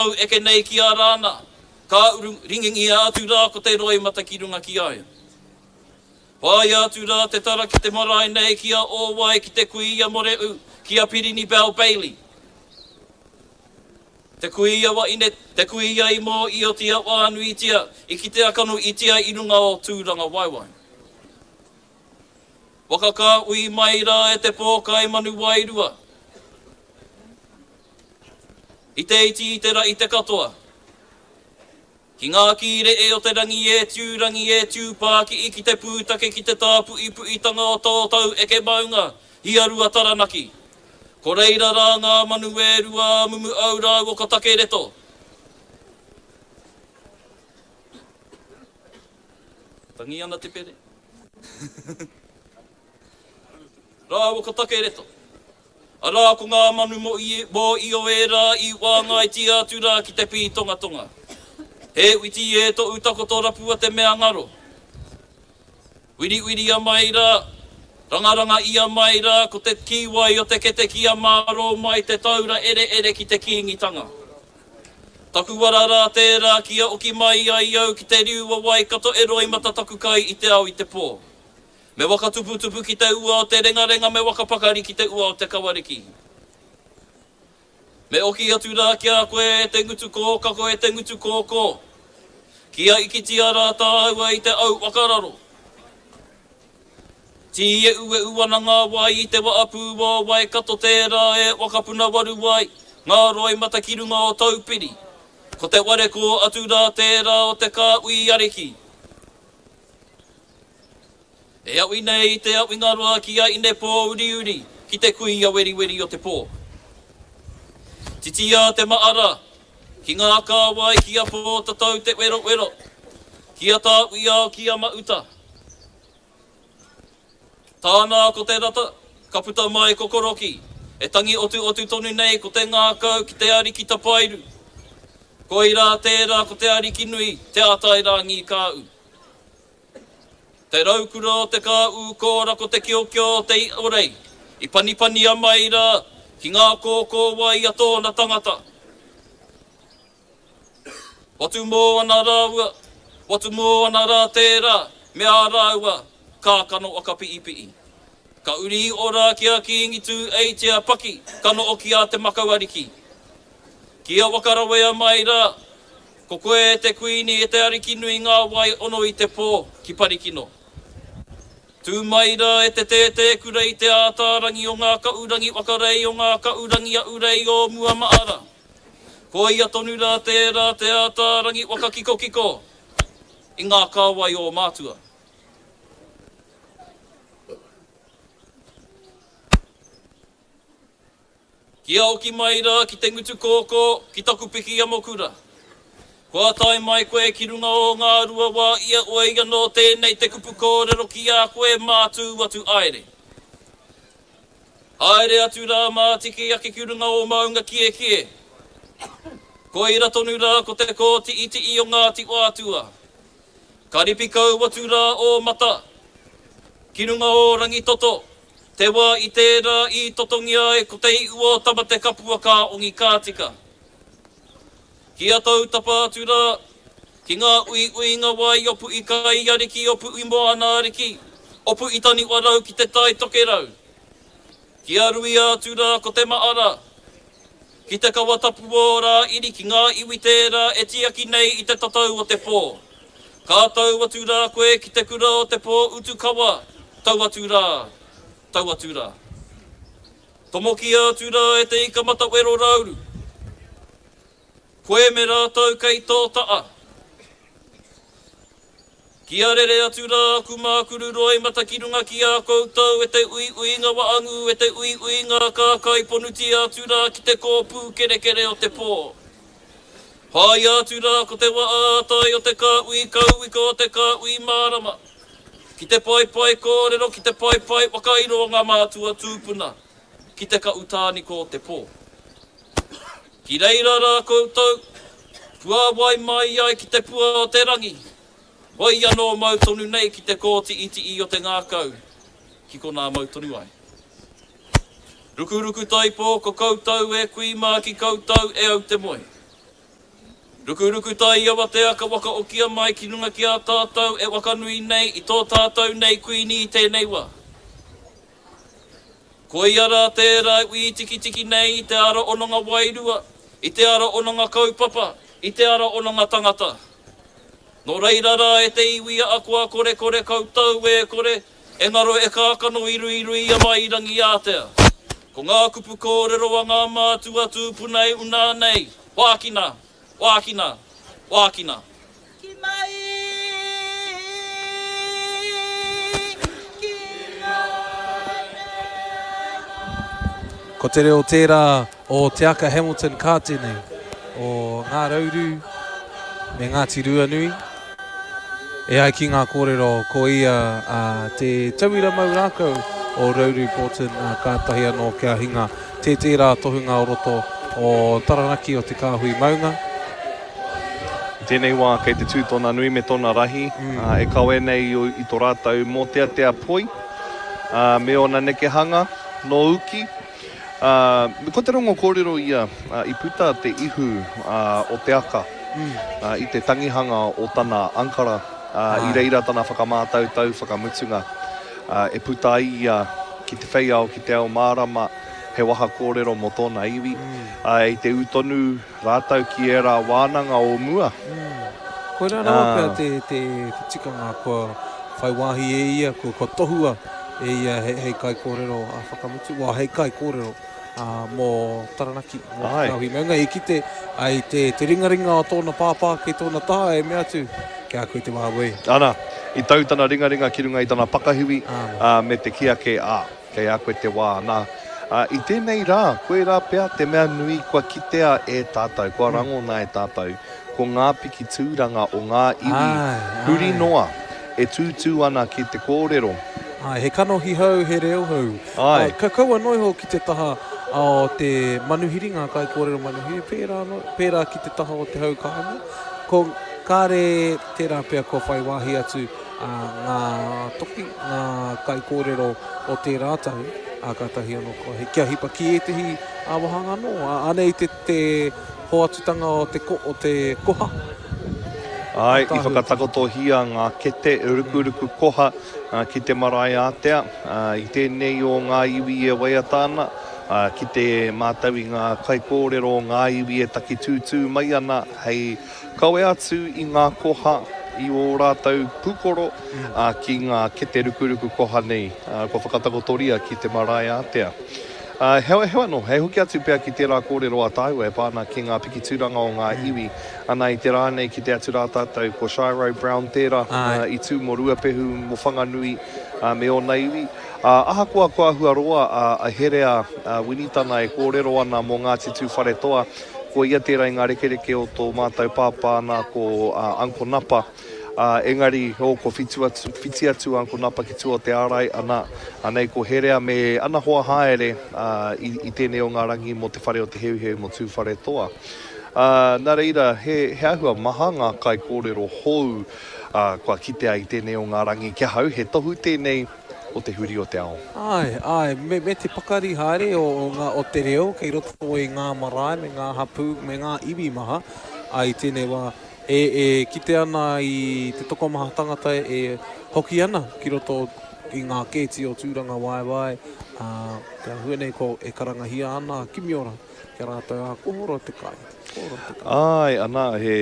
Au eke nei ki a Rāna, ka uru ringingia atu rā ko te roimata ki runga ki a ia. Whāia atu rā te tara ki te marae nei ki a Ōwai ki te kuia Moreu, ki a Pirini Bell Bailey. Te kuia waine, te kuia i mōiotia whānuitia, i kitea kanohitia i runga o Tūrangawaewae. Waka ka ui mai rā e te pōkai manu wairua. I te iti, i te rahi te katoa. Ki ngā kīreʻe o te rangi e tiu rangi e tiu pākiʻi ki te pūtake ki te tāpuipuitanga o tō tau eke maunga i a Rua Taranaki. Ko reira rā ngā manu e rua a Mumuau rāua ko Takereto. Tangi ana te pere. Rāua ko Takereto. Arā ko ngā manu mō Io ērā i whāngaitia atu rā ki te pītongatonga. He witi e toʻu takoto rapua te mea ngaro. Wiriwiria mai rā, rangaranga ia mai rā ko te kīwai o te kete kia mārō mai te taura ereere ki te Kīngitanga. Taku wara rā tērā kia oki mai ai au ki te riu o Waikato e roimata taku kai i te ao i te pō. Me waka tuputupu ki te ua o te rengarenga me waka pakari ki te ua o te kawariki. Me oki atu rā ki a koe e te ngutu kōkako e te ngutu kōkō. Kia ikitia rā tāua i te au whakararo. Tīeueu ana ngā wai i te waapū o Waikato tērā e wakapuna waru ai ngā roimata ki runga o Taupiri. Ko te ware kō atu rā tērā o te kāhui ariki. E awi nei i te awinga roa ki a Inepōuriuri, ki te kuia weriweri o te pō. Titia te maara, ki ngā kāwai ki a Pōtatau te werowero, ki a Tāwhiao ki a Mauta. Tāna ko te rata, ka puta mai ko Koroki, e tangi otuotu tonu nei ko te ngākau ki te ariki tapairu. Koirā tērā ko te ariki nui, Te Ātairangikāu. Te raukura o te kāū kōra ko te kiokio o te iorei i panipania mai rā ki ngā kōkōwai a tōna tangata. Watu mō ana rāua, watu mō ana rā tērā me ā rāua kākano whakapi'ipi'i. Ka uri iho rā ki a Kīngi Tūeitia Paki ka noho ki a Te Makauariki. Kia whakarawea mai rā, ko koe e te Kuini e te Ariki nui ngā wai ono i te pō ki Parikino. Tū mai rā e te tētēkura i te ātārangi o ngā kaurangi whakarei o ngā kaurangi ahurei o mua maara. Koia tonu rā tērā te ātārangi whakakikokiko i ngā kāwai o mātua. Kia oki mai rā ki te ngutu kōkō, ki taku piki amokura. Kua tae mai koe ki runga o ngā rua wā ia oe anō tēnei te kupu kōrero ki a koe mā tū atu aere. Haere atu rā mā tiki ake ki runga o Maunga Kiekie. Koira tonu rā ko te kōti'iti'i o Ngāti Whātua. Ka ripi kau atu rā ō mata ki runga o Rangitoto, te wā i tērā i totongia ai ko te iu o Tamatekapua ka ongi ka tika. Kia tautapa atu rā ki ngā uiuinga wai o Puʻikaiariki, o Puʻumoanaariki, o Puʻitaniwarau ki te Tai Tokerau. Kia ruia atu rā ko te maara, ki te kawa tapu o Rāiri ki ngā iwi tērā e tiaki nei i te tatau o te pō. Ka tau atu rā koe ki te kura o te pō utu kawa, tau atu rā, tau atu rā. Tomokia atu rā e te ika matawero rauru. Koe me rātou kei tō taa. Kia rere atu rā aku mākuru roimata ki runga ki a koutou e te uiuinga waangū e te uiuinga kākai ponutia atu rā ki te kōpū kerekere o te pō. Whāia atu rā ko te waa ātai o te kāhui kauika o te kāhui mārama ki te paepae kōrero ki te paepae whakairo o ngā mātua tūpuna ki te kaʻu tāniko o te pō. Ki reira rā koutou, puāwai mai ai ki te pua o te rangi, hoi anō mau tonu nei ki te kōtiʻitiʻi o te ngākau, ki konā mau tonu ai. Rukuruku taipō ko koutou e kui mā ki koutou e au te moe. Rukuruku tai awatea ka whakaokia mai ki runga ki a tātou e whakanui nei i tō tātou nei Kuini i tēnei wā. Koia rā tērā e wītikitiki nei i te ara ononga wairua, i te ara ononga kaupapa, i te ara ononga tangata. Nō reira rā e te iwi a kua korekore koutou e kore e ngaro e kākano i ruiruia mai i Rangiātea. Ko ngā kupu kōrero a ngā mātua tūpuna e unā nei, Wākina! Wākina! Wākina! Ki mai ki ngā Ko te reo tērā o Te Aka Hamilton Kātene o Ngā Rauru me Ngāti Ruanui. E ai ki ngā kōrero ko ia te tauira mau rākau o Rauru Bolton kātahi anō kia hinga tē tērā tohunga o roto o Taranaki o Te Kāhui Maunga. I tēnei wā kei te tū tōna nui me tōna rahi, e kawe nei i tō rātou mōteatea poi me ōna nekehanga nō uki. Ko te rongo kōrero ia i puta te ihu o te aka i te tangihanga o tana ankara, i reira tana whakamātautau whakamutunga e puta ai ia ki te whei ao, ki te ao mārama, he waha kōrero mō tōna iwi. I te ū tonu rātou ki ērā wānanga o mua. Koirā rawa pea te, te, te tikanga kua whai wāhi e ia, kua, kua tohua e ia hei, hei kaikōrero a whakamutu, well, hei kaikōrero ā, mō Taranaki, mō Te Kāhui Maunga. I kite ai te, te ringaringa o tōna pāpā kei tōna taha e mea atu, Ki a koe te wā wē. Ana, i tau tana ringaringa ki runga i tana pakahiwi, ā, me te kī ake, ā. Kei a koe te wā, nā, ā, i tēnei rā, koirā pea te mea nui kua kitea e tātou, kua rangona e tātou, ko ngā piki tūranga o ngā iwi huri noa e tūtū ana ki te kōrero. Āe, he kanohi hou, he reo hou. Āe. Ka kaua noa iho ki te taha o te manuhiri, ngā kaikōrero manuhiri, pērā anō, pērā ki te taha o te hau kāinga. Ko, kāre tērā pea kua whai wāhi atu ngā toki, ngā kaikōrero o tērā tau, ā, kātahi anō kua, kia hipa ki ētehi wāhanga anō. Anei te, te hoatutanga o te, o te koha. Āe, i whakatakotohia ngā kete rukuruku koha ki te marae ātea, i tēnei o ngā iwi e waiata ana, ki te mātau i ngā kaikōrero o ngā iwi e taki tūtū mai ana hei Kawe atu i ngā koha i ō rātou pūkoro ki ngā kete rukuruku koha nei kua whakatakotoria ki te marae ātea. Heoi anō, hei hoki atu pea ki tērā kōrero a tāua e pā ana ki ngā piki tūranga o ngā iwi. Ana i te rā nei kite atu rā tātou ko Shiro Brown tērā i tū mō Ruapehu, mō Whanganui me ōna iwi. Ahakoa kua āhua roa a Herea Winitana e kōrero ana mō Ngāti Tūwharetoa, Ko ia tērā i ngā rekereke o tō mātou pāpā nā ko Uncle Napa. Ā, engari, oh, kua whitu atu, whiti atu a Uncle Napa ki tua o te ārai, ana, anei ko Herea me ana hoa haere, ā, i, i tēnei o ngā rangi mō te whare o Te Heuheu mō Tūwharetoa. Ā, nā reira, he, he āhua maha ngā kaikōrero hou, ā, kua kitea i tēnei o ngā rangi ki ahau, he tohu tēnei, o te huri o te ao. Āe, āe, me, me te pakari haere o, o ngā, o te reo kei roto i ngā marae me ngā hapū me ngā iwi maha, ā, i tēnei wā, e, e kite ana i te tokomaha tangata e hoki ana ki roto i ngā kēti o Tūrangawaewae, ā, te āhua nei ko, e karangahia ana a Kimiora ki a rātou, ā, kua horo te kai, kua horo te kai. Āe, ana, he,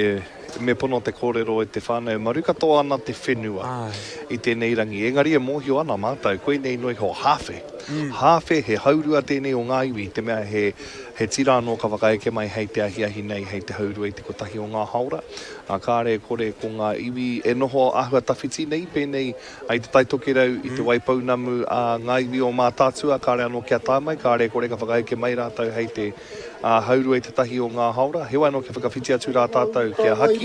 me pono te kōrero e te whānau, maru katoa ana te whenua i tēnei rangi. Engari e mōhio ana mātou, koinei noa iho, hāwhe. Hāwhe, he haurua tēnei o ngā iwi, i te mea he, he tira anō ka whakaeke mai hei te ahiahi nei, hei te haurua i te kotahi o ngā hāora. Ā, kāre e kore ko ngā iwi e noho āhua tawhiti nei, pēnei i Te Tai Tokerau, i Te Waipounamu, ā, ngā iwi o Mātaatua, kāre anō kia tae mai, kāre e kore ka whakaeke mai rātou hei te, ā, haurua i te tahi o ngā hāora. Heoi anō kia whakawhiti atu rā tātou kia haki.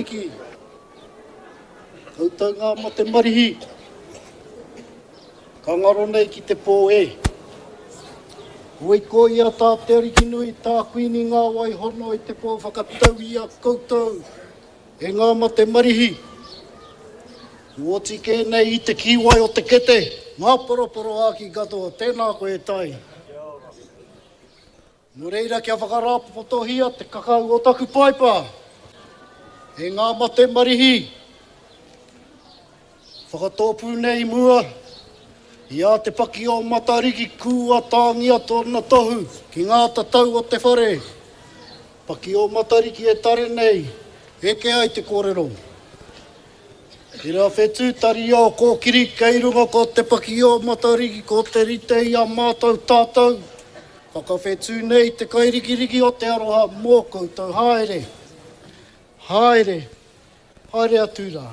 Koutou ngā mate marihi, ka ngaro nei ki te pō e. Hoi ko ia tā Te Arikinui, tā Kuini Ngāwai hono i te pō whakatau i a koutou e ngā mate marihi. Kua oti kē nei i te kīwai o te kete ngā poroporoāki katoa, tēnā koe e Tai. Nō reira kia whakarāpopotohia te kakau o taku paipa. E ngā mate marihi, whakatōpū nei i mua i a Te Paki o Matariki kua tāngia tōna tohu ki ngā tatau o te whare. Paki o Matariki e tare nei, eke ai te kōrero. Tērā whetū tari o Kōkiri kei runga ko Te Paki o Matariki ko te rite i a mātou tātou whakawhetū nei te kairikiriki o te aroha mō koutou haere, haere, haere atu rā.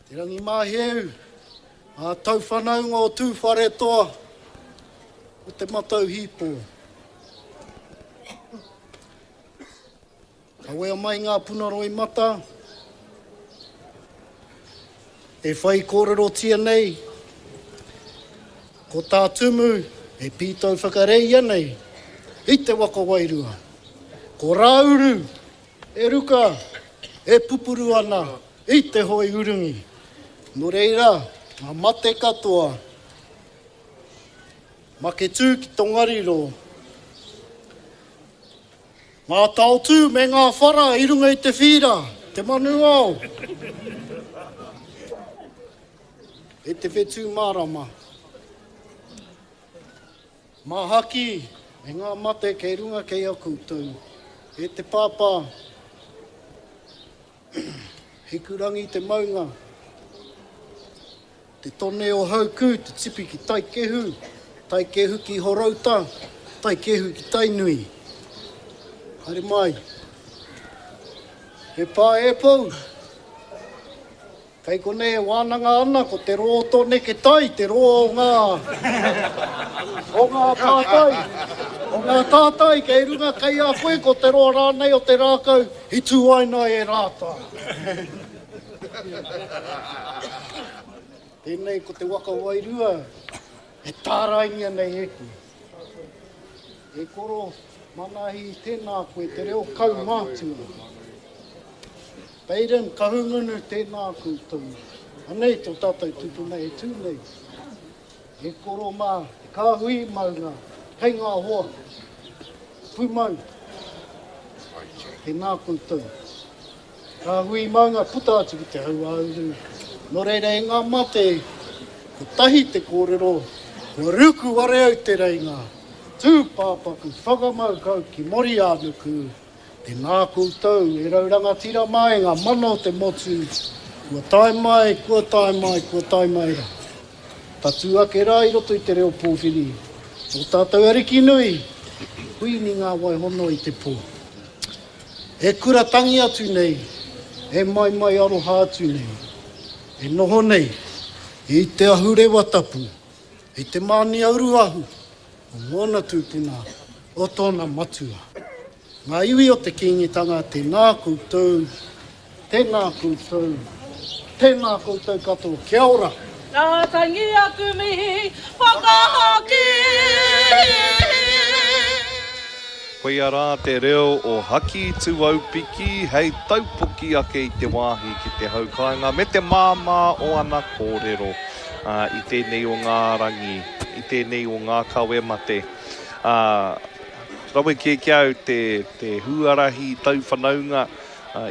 Te Rangimāheu, ngā tauwhanaunga o Tūwharetoa o Te Matau Hīpō. Kawea mai ngā puna roimata e whai kōrerotia nei, ko tā Tumu e pītau whakareia nei i te waka wairua. Ko Rāuru e ruka e pupuru ana i te hoe urungi. Nō reira, ngā mate katoa, Maketū ki Tongariro, Ngā taotū me ngā whara i runga i te whīra, te manu ao, e te whetū mārama. Māhaki me ngā mate kei runga kei a koutou, e te pāpā, Hikurangi te maunga, te tone o Haukū, te tipi ki Taikehu, Taikehu ki Horouta, Taikehu ki Tainui. Haere mai. He pā e pou. Kei konei e wānanga ana ko te rō o tō neke tai, te rō o ngā, o ngā tātai, o ngā tātai kei runga kei a koe ko te roa rānei o te rākau i tūaina e Rātā. Tēnei ko te waka wairua e tāraingia nei e koe. E koro, Manahi, tēnā koe, te reo kaumātua. Baden, Kahungunu, tēnā koutou. Anei tō tātou tupuna e tū nei. E koro mā, te kāhui maunga, kei ngā hoa. Pūmau, tēnā koutou. Kāhui maunga puta atu ki te hauāuru. Nō reira e ngā mate, kotahi te kōrero, kua ruku ware au te reinga, tūpāpaku whakamau kau ki Mori-ā-nuku, tēnā koutou e rau rangatira mā e ngā mana o te motu, kua tae mai, kua tae mai, kua tae mai rā. Tatū ake rā i roto i te reo pōwhiri, tō tātou ariki nui, Kuini Ngā Waihono i te pō. E kura tangi atu nei, e maimai aroha atu nei, e noho nei i te ahurewa tapu, i te mānia uruahu o ngōna tūpuna, o tōna matua. Ngā iwi o te Kīngitanga, tēnā koutou, tēnā koutou, tēnā koutou katoa, kia ora! Nā tangi aku mihi whakahoki. Koia rā te reo o Haki Tuaupiki hei taupoki ake i te wāhi ki te hau kāinga me te māmā o ana kōrero i tēnei o ngā rangi, i tēnei o ngā kawe mate. Rawe kē ki a au te huarahi tauwhanaunga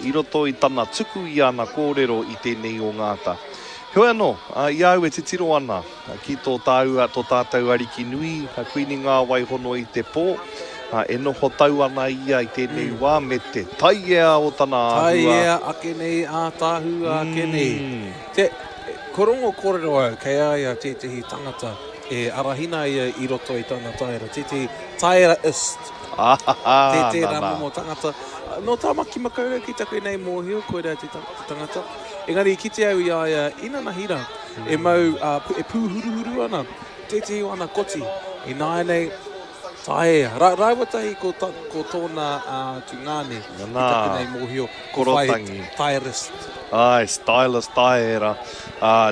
i roto i tana tuku i ana kōrero i tēnei o ngā ata. Heoi anō, i a au e titiro ana ki tō tāua, tō tātou Ariki nui, a Kuini Ngāwaihono i te pō, e noho tau ana ia i tēnei wā me te taiea o tana āhua. Taiea ake nei, ātaahua ake nei. Te, ko rongo kōrero au, kei a ia tētehi tangata e arahina ia i roto i tana taera, tētehi taera-ist. Tē tērā momo tangata. Nō Tāmaki Makaurau ki taku nei mōhio, koirā te tangata. Engari i kite au i a ia inanahi rā, e mau, e pūhuruhuru ana tētehi o ana koti. Ināianei, taea. Rāua tahi ko tōna tungāne, ki taku nei mōhio, ko whai stylist. Āe, stylist, taera.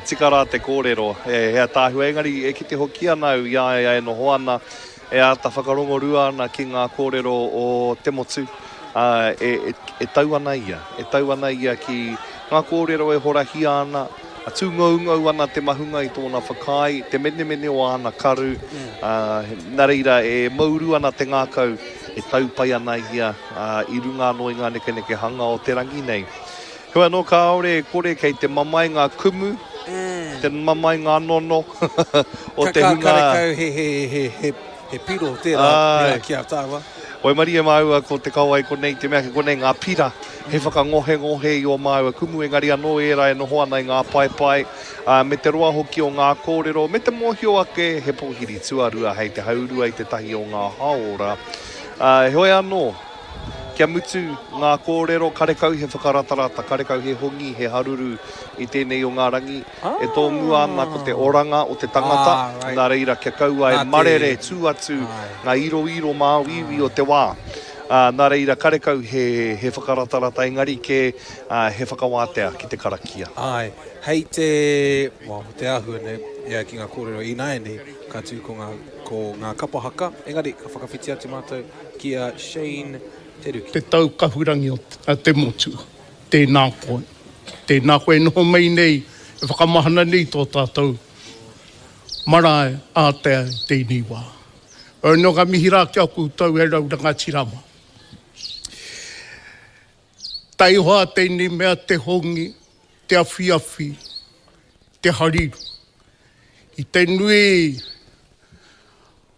Tika rā te kōrero, he ataahua. Engari e kite hoki ana au i a ia e noho ana, E āta whakarongorua ana ki ngā kōrero o te motu, ā, e, e tau ana ia, e tau ana ia ki ngā kōrero e horahia ana, Tūngoungou ana te mahunga i tōna whakaae, te menemene o āna karu, ā, nā reira e mouru ana te ngākau, e tau pai ana ia i runga anō i ngā nekenekehanga o te rangi nei. Heoi anō, kāore e kore kei te mamae ngā kumu, te mamae ngā nono o te hunga. Karekau he piro tērā pērā ki a tāua. Waimarie māua ko te kawa i konei, te mea kei konei ngā pira he whakangohengohe i ō māua kumu, engari anō ērā e noho ana i ngā paepae, ā, me te roa hoki o ngā kōrero, me te mōhio ake he pōhiri tuarua hei te haurua i te tahi o ngā hāora. Ā, heoi anō, kia mutu ngā kōrero, karekau he whakaratarata, karekau he hongi, he haruru i tēnei o ngā rangi, E tōmua ana ko te oranga o te tangata, nā reira kia kaua e marere tū atu ngā iroiro māuiui o te wā. Nā reira karekau he whakaratarata engari kē he whakawātea ki te karakia. Āe, hei te, well, te āhua nei, e ai ki ngā kōrero ināianei, ka tū ko ngā, ko ngā kapa haka, engari ka whakawhiti atu mātou ki a Shane Te Ruki. Te tau kahurangi o te motu. Tēnā koe. Tēnā koe e noho mai nei, e whakamahana nei tō tātou marae ātea i tēnei wā. Heoi anō ka mihi rā ki a koutou e rau rangatira mā. Taihoa tēnei mea te hongi, te awhiawhi, te hariru. I te nui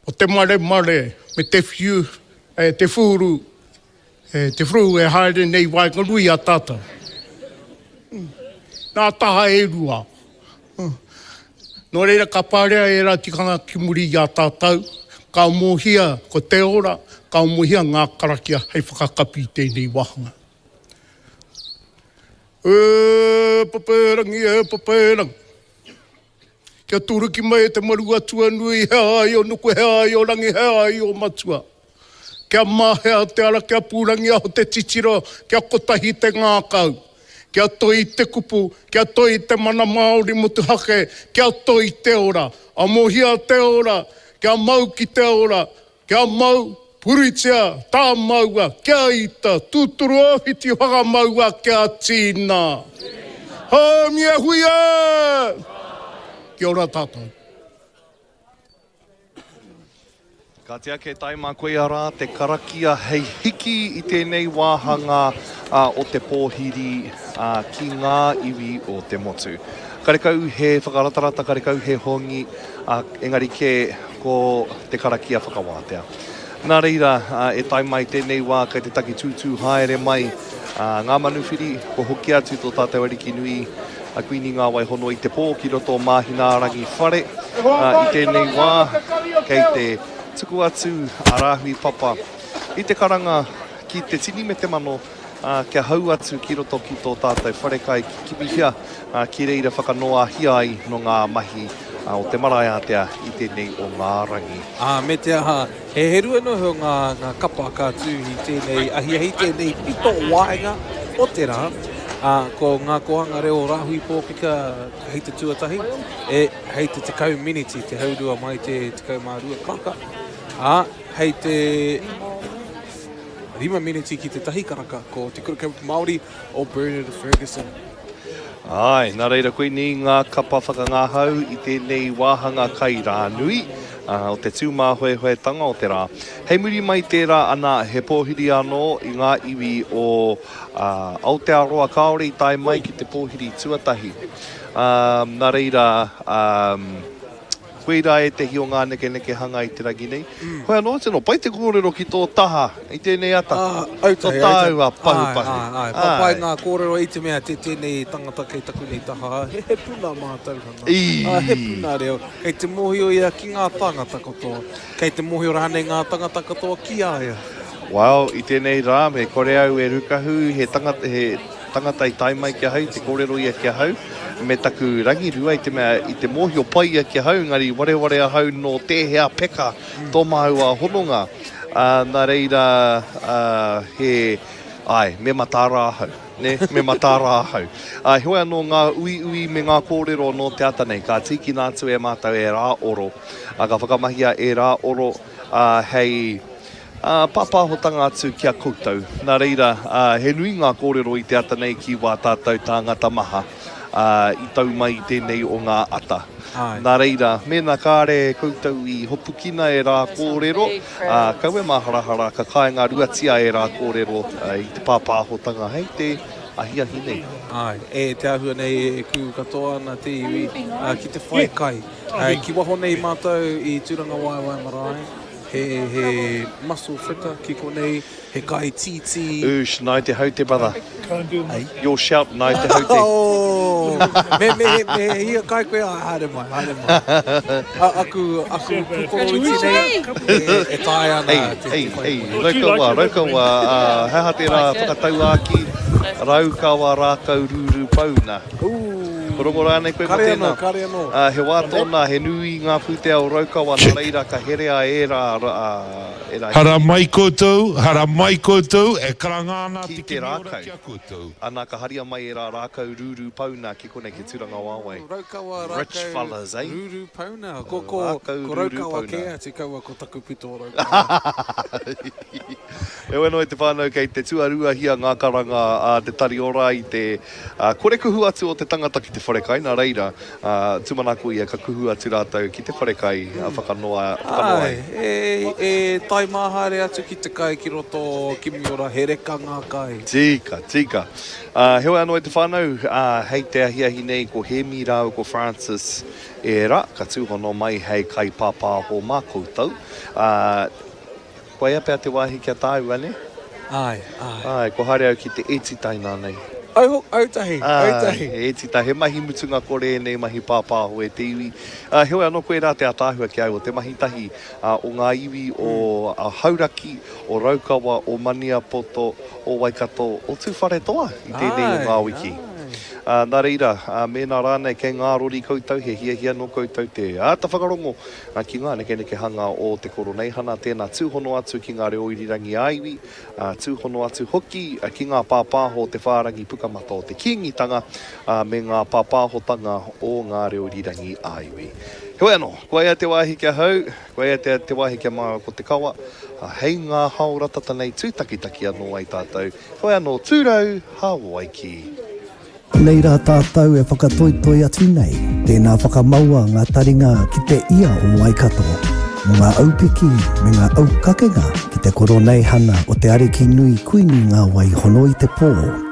o te maremare me te whiu, te whūru, te whūru e haere nei waenganui i a tātou. Nā taha e rua. Nō reira ka parea ērā tikanga ki muri i a tātou, ka amohia ko te ora, ka amohia ngā karakia hei whakakapi i tēnei wāhanga. E Papaerangi, e Papaerangi. Kia turuki mai e te maru atua nui, he ai o nuku, he ai o rangi, he ai o matua. Kia mahea te ara, kia pūrangiaho te titiro, kia kotahi te ngākau. Kia toi te kupu, kia toi te mana Māori motuhake, kia toi te ora. Amohia te ora, kia mau ki te ora, Kia mau, puritia, tāmaua, kia ita, tūturu ōwhiti whakamaua kia tīna. Haumi e hui e! Kia ora tātou. Ka tia ake tae mā koia rā te karakia hei hiki i tēnei wāhanga o te pōhiri ki ngā iwi o te motu. Karekau he whakaratarata, karekau he hongi, engari kē ko te karakia whakawātea. Nā reira, e tae mai tēnei wā kei te taki tūtū haere mai ngā manuwhiri, kua hoki atu tō tātou Ariki nui a Kuini Ngāwaihono i te pō ki roto o Māhinārangi whare. I tēnei wā, kei te tuku atu a Rāhui Papa i te karanga ki te tini me te mano, kia hau atu ki roto ki tō tātou wharekai ki kimihia, ki reira whakanoahia ai nō ngā mahi o te marae ātea i tēnei o ngā rangi. Ā, me te aha, he heru anō iho ngā, ngā kapa ka tū i tēnei ahiahi, tēnei pito waenga o te rā, ā, ko ngā kōhanga reo o Rāhui Pōkeka hei te tuatahi, e, hei te 10 miniti, te haurua mai te 12 karaka, ā, hei te. 5 meneti ki te tahi karaka, ko Te Kura Kaupapa Māori o Bernard Fergusson. Āe, nā reira koinei ngā kapa whakangahau i tēnei wāhanga kai rānui o te tūmāhoehoetanga o te rā. Hei muri mai tērā ana he pōhiri anō i ngā iwi o Aotearoa kāore i tae mai ki te pōhiri tuatahi. Nā reira, Koirā ētehi o ngā nekenekehanga i te rangi nei. Hoi anō, tino pai te kōrero ki tō taha i tēnei ata. Autahi, autahi. Tō tāua pahupahu. Āe, āe, āe. Papai ngā kōrero i te mea te tēnei tangata kei taku nei taha, he puna mātauranga, he puna reo. Kei te mōhio ia ki ngā tāngata katoa. Kei te mōhio rānei ngā tangata katoa ki a ia. Well, i tēnei rā, me kore au e rukahu, he tangata, he tangata i tae mai ki ahau, te kōrero ia ki ahau, me taku rangirua i te mea i te mōhio pai ia ki ahau, engari wareware ahau nō tēhea peka tō māua hononga. Ā, nā reira, ā, he, āe, me mataara ahau, nē, me mataara ahau. Ā, heoi anō ngā uiui me ngā kōrero nō te ata nei, ka tīkina atu e mātou ērā oro, ā, ka whakamahia ērā oro, ā, hei, Ā, pāpāhotanga atu ki a koutou. Nā reira, ā, he nui ngā kōrero i te ata nei ki wā tātou tāngata maha. i tau mai i tēnei o ngā ata. Nā reira, mēnā kāre koutou i hopukina e rā kōrero, kaua e māharahara, ka kāinga ruatia e rā kōrero i te pāpāhotanga hei te ahiahi nei. Āe, e te āhua nei e kū katoa ana te iwi ki te whai kai. Ki waho nei mātou i Tūrangawaewae Marae, he, he mussel fritter ki konei, he kai tītī. Oosh, nai te haute brother. Your shout, nai te haute. Oh, me, me, me he hia kai koe, ah, haere mai, haere mai. A, aku, aku pukoro iti nei, e, e taea ana hey, te, hey, te whai. Hey, Raukawa, Raukawa, uh, he aha tērā whakatauākī, Raukawa rākau rūrū pauna. Ooh. Ko rongo rānei koe mō tēnā? Kare anō, kare anō. Ā, he wā tōna, he nui ngā pūtea o Raukawa, nā reira ka herea ērā, ērā Hara mai koutou, hara mai koutou, e karanga ana ki te te kimi ora rākau. ki a koutou. Ana, ka haria mai ērā rākau rūrū pauna ki konei ki Tūrangawaewae. Raukawa, Rich rākau fellas, eh? rūrū pauna. Ko, ko, Rākau ko rūrū Raukawa pauna. kē atu, kaua ko taku pito o Raukawa. Heoi anō e te whānau, kei te tuaruahia ngā karanga a te Tari Ora i te Ā, kore kuhu atu o te tangata ki te wharekai, nā reira, ā, tūmanako ia ka kuhu atu rātou ki te wharekai, ā, whakanoa, whakanoa ai. Āe, e, e tae mā haere atu ki te kai ki roto o Kimiora, he reka ngā kai. Tika, tika. Ā, heoi anō e te whānau, ā, hei te ahiahi nei ko Hēmi rāua ko Francis ērā, ka tūhono mai hei kaipāpāho mā koutou. Ā, Koia pea te wāhi kia tāua, nē? Āe, āe. Āe, kua haere au ki te ētita inānei. Au hoki, autahi, autahi. Āe, he ētita, he mahi mutunga kore ēnei mahi pāpāho e te iwi. Ā, heoi anō koirā te ātaahua ki a au o te mahi tahi o ngā iwi o Hauraki, o Raukawa, o Maniapoto, o Waikato, o Tūwharetoa i tēnei o ngā wiki. Ā, nā reira, mēnā rānei kei ngā rori koutou, he hiahia nō koutou te āta whakarongo Ki ngā nekenekehanga o te Koroneihana, tēnā tūhono atu ki ngā reo irirangi ā-iwi, ā, tūhono atu hoki ki ngā pāpāho o te whārangi pukamata o te Kīngitanga, ā, me ngā pāpāhotanga o ngā reo irirangi ā-iwi. Heoi anō, koia te wāhi ki ahau, koia te, te wāhi ki a māua ko Te Kawa, ā, hei ngā haora tata nei tūtakitaki anō ai tātou, heoi anō, tūrau, Hawaiki! Nei rā tātou e whakatoitoi atu nei, tēnā whakamaua ngā taringa ki te ia o Waikato, mō ngā aupiki me ngā aukakenga ki te koroneihana o te Ariki Nui Kuini Ngā Wai Hono i te Pō.